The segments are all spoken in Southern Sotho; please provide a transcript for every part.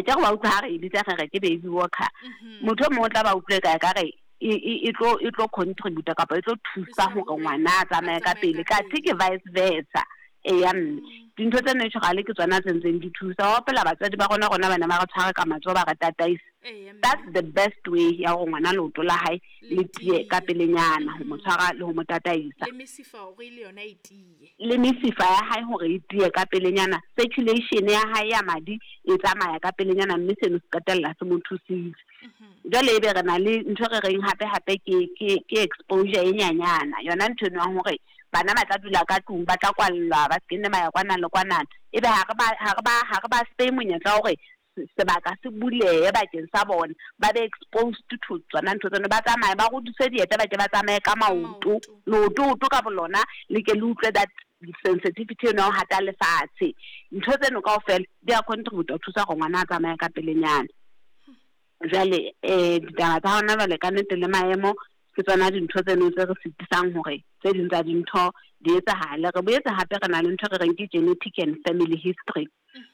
A ke re wa utlwa ha re e bitsa re re ke baby walker. Motho e mong o tla ba utlwe ka ka re e tlo contribute kapa e tlo thusa hore ngwana a tsamaye ka pele, kathe ke vice versa. Eya mme, dintho tse natural ke tsona tse ntseng di thusa. Wa hopola batswadi ba rona ba ne ba re tshware ka matsoho, ba re tataisa. That's the best way ya hore ngwana leoto la hae le tiye ka pelenyana, ho mo tshwara le ho mo tataisa. Le mesifa hore le yona e tiye. Le mesifa ya hae hore e tiye ka pelenyana, circulation ya hae ya madi e tsamaya ka pelenyana, mme seno se qetella se mo thusitse. Jwale ebe re na le ntho re reng hape hape ke exposure e nyanyana, yona ntho eno ya hore bana ba tla dula ka tlung, ba tla kwallwa, ba se nne ba ya kwana le kwana, ebe ha re ba fe monyetla wa hore sebaka se bulehe bakeng sa bona, ba be exposed to tsona ntho tseno, ba tsamaye, ba rodise dieta, ba ke ba tsamaye ka maoto. Leoto ka bolona le ke le utlwe that sensitivity eno ya ho hata lefatshe. Ntho tseno kaofela di a contribute ho thusa hore ngwana a tsamaye ka pelenyana. Jwale ditaba tsa hona jwale, ka nnete, le maemo, ke tsona dintho tseno tse re sitisang hore tse ding tsa dintho di etsahale. Re boetse hape re na le ntho re reng ke genetic and family history.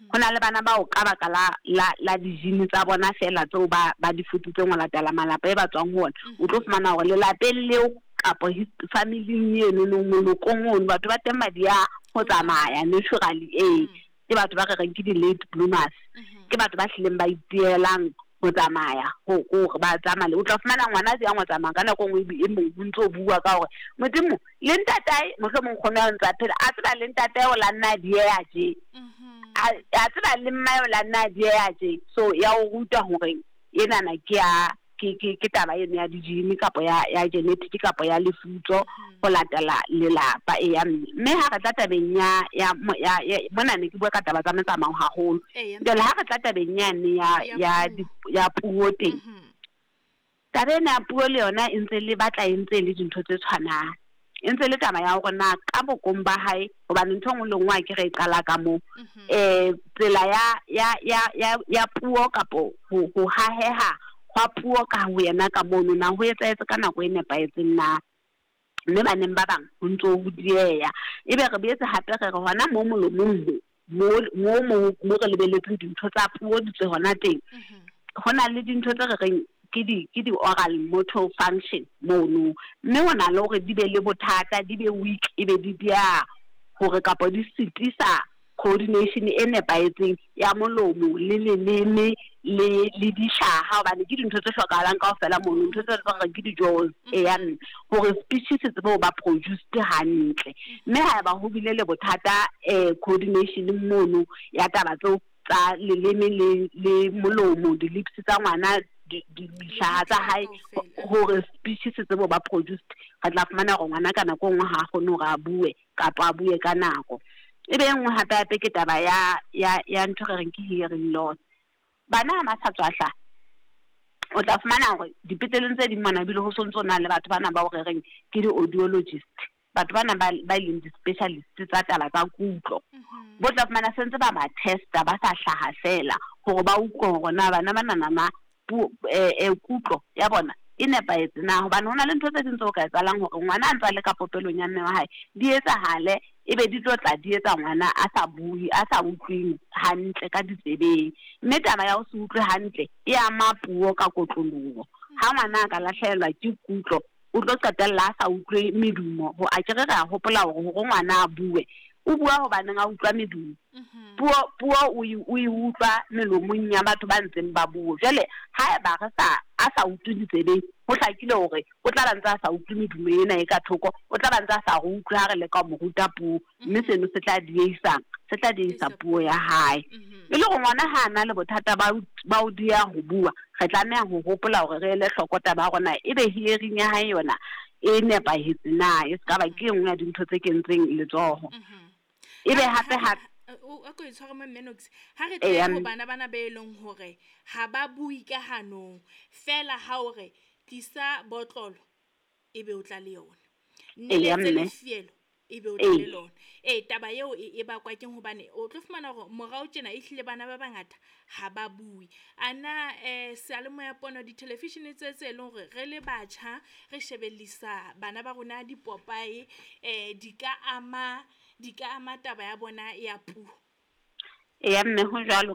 Ho na le bana bao ka baka la di-gene tsa bona feela tseo ba di futsitseng ho latela malapa e ba tswang ho ona, o tlo fumana hore lelapeng leo kapo familing eno no, molokong ono, batho ba teng ba di ya ho tsamaya naturally. Ee, ke batho ba re reng ke di-late bloomers, ke batho ba hlileng ba itielang ho tsamaya, hore ba tsamaye. O tla fumana ngwana a yang ho tsamaya ka nako e nngwe, e mong o ntso bua ka hore Modimo le ntatae, mohlomong nkgono ya ntse a phela, a tseba le ntatae o la nna a dieha tje, a tseba le mmae o la nna a dieha tje. So ya o ruta hore enana ke ya ke taba eno ya di-gene kapa ya genetic kapa ya lefutso ho latela lelapa. Eya mme, ha re tla tabeng ya mona, ne ke bua ka taba tsa metsamao haholo. Jwale ha re tla tabeng yane ya Ya ya ya puo teng, taba ena ya puo le yona e ntse le batla e ntse le dintho tse tshwanang, e ntse le taba ya hore na ka bokong ba hae, hobane ntho e nngwe le nngwe a ke re e qala ka moo, tsela ya puo kapo ho haheha hwa puo ka ho yena ka mono, na ho etsahetse ka nako e nepahetseng na? Mme baneng ba bang ho ntso ho dieha. Ebe re boetse hape re re hona mo molomong, mo re lebeletseng dintho tsa puo di tswe hona teng, ho na le dintho tse re reng ke di oral motor function mono, mme ho na le hore di be le bothata, di be weak, ebe di dia hore kapa di sitisa coordination e nepahetseng ya molomo le leleme le dihlaha, hobane ke dintho tse hlokahalang kaofela mono, ntho tse re reng ke di-jaws. Eya mme, hore speech se tsebe ho ba produced hantle, mme haeba ho bile le bothata coordination mono ya taba tseo tsa leleme le molomo, di-lips tsa ngwana, dihlaha tsa hae, hore speech se tsebe ho ba produced, re tla fumana hore ngwana ka nako e nngwe ha a kgone hore a bue kapa a bue ka nako. E be e nngwe hape hape ke taba ya ntho re reng ke hearing loss. Bana ha ba sa tswa hlaha, o tla fumana hore dipetleleng tse ding mona ebile ho sontso na le batho bana bao re reng ke di-audiologist, batho bana ba e leng di-specialist tsa taba tsa kutlo, bo tla fumana sentse ba testa ba sa hlaha fela, hore ba utlwe hore na bana ba nana puo kutlo ya bona e nepahetse na, hobane ho na le ntho tse ding tse o ka etsahalang hore ngwana a ntse a le ka popelong ya mme wa hae di etsahale, ebe di tlo tla di etsa ngwana a sa bue, a sa utlweng hantle ka ditsebeng. Mme taba ya ho se utlwe hantle e ama puo ka kotloloho. Ha ngwana a ka lahlehelwa ke kutlo, o tlo qetella a sa utlwe medumo. Ho a kere re a hopola hore ngwana a bue, o bua hobaneng a utlwa medumo. Puo o e utlwa melomong ya batho ba ntseng ba bua. Jwale haeba re sa a sa utlwe ditsebeng, ho hlakile hore o tla ba ntse a sa utlwe medumo ena e ka thoko, o tla ba ntse a sa re utlwe ha re leka ho mo ruta puo, mme seno se tla dieisa puo ya hae. E le hore ngwana ha a na le bothata ba ho dieha ho bua, re tlameha ho hopola hore re ele hloko taba ya rona, ebe hearing ya hae yona e nepahetse na, e se ka ba ke e nngwe ya dintho tse kentseng letsoho. Ebe hape hape A ko e tshware mo, mme Nox, ha re tle ho bana bana be leng hore ha ba bue ka hanong fela, ha o re tlisa botlolo, ebe o tla le yona, nneletse lefielo, ebe o tla le lona. Ee, taba eo e bakwa keng? Hobane o tlo fumana hore morao tjena ehlile bana ba bangata ha ba bue. A na seyalemoya, pono, di-television tse leng hore re le batjha re shebellisa bana ba rona dipopae, di ka ama taba ya bona ya puo? Eya mme, ho jwalo.